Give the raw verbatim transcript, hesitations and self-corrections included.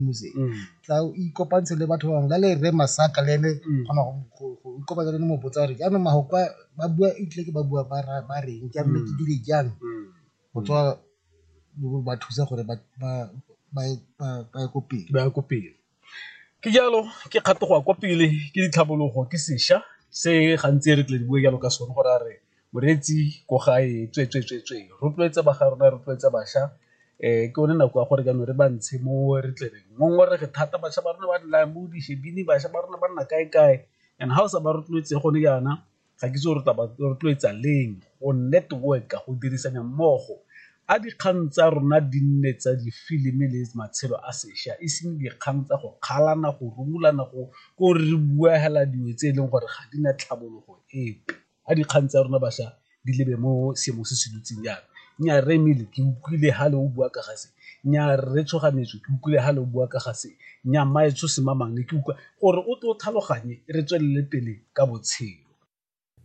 Music tla o ikopantshe le batho ba bangwe la le Rre Masaka le ene kgona go ikopanya le ene mo botsa gore jaanong mafoko a ba bua etlile ke ba bua ba ba reng jaanong ke dire jang go tswa ba thusa gore ba ye ko pele. Ba ye ko pele. Ke jalo ke kgato go ya kwa pele ke ditlhabologo ke sešwa se gantsi re tle re bue jalo ka sone gore a re moreetsi ko gae tswe-tswe-tswe-tswe rotloetsa ba ga rona rotloetsa bašwa ke yone nako ya gore jaanong re ba ntshe mo re tle re ngongorege thata bašwa ba rona ba nna mo dishebini bašwa ba rona ba nna kae-kae and ga o sa ba rotloetse gone jaana ga ke itse gore tla ba rotloetsa leng go network-a go dirisana mmogo. A dikgang tsa rona di nne tsa difilimi le matshelo a sešwa e seng dikgang tsa go kgalana go rumolana go ko re bua fela dilo tse e leng gore ga di na tlhabologo epe. A dikgang tsa rona bašwa di lebe mo seemong se se dutseng jaana. Nnyaa rre Emile ke utlwile fa le o bua ka ga se, nnyaa rre Tshoganyetso ke utlwile fa le o bua ka ga se, nnyaa mmaetsho semang ke utlwa gore o tle o tlhaloganye re tswelele pele ka botshelo.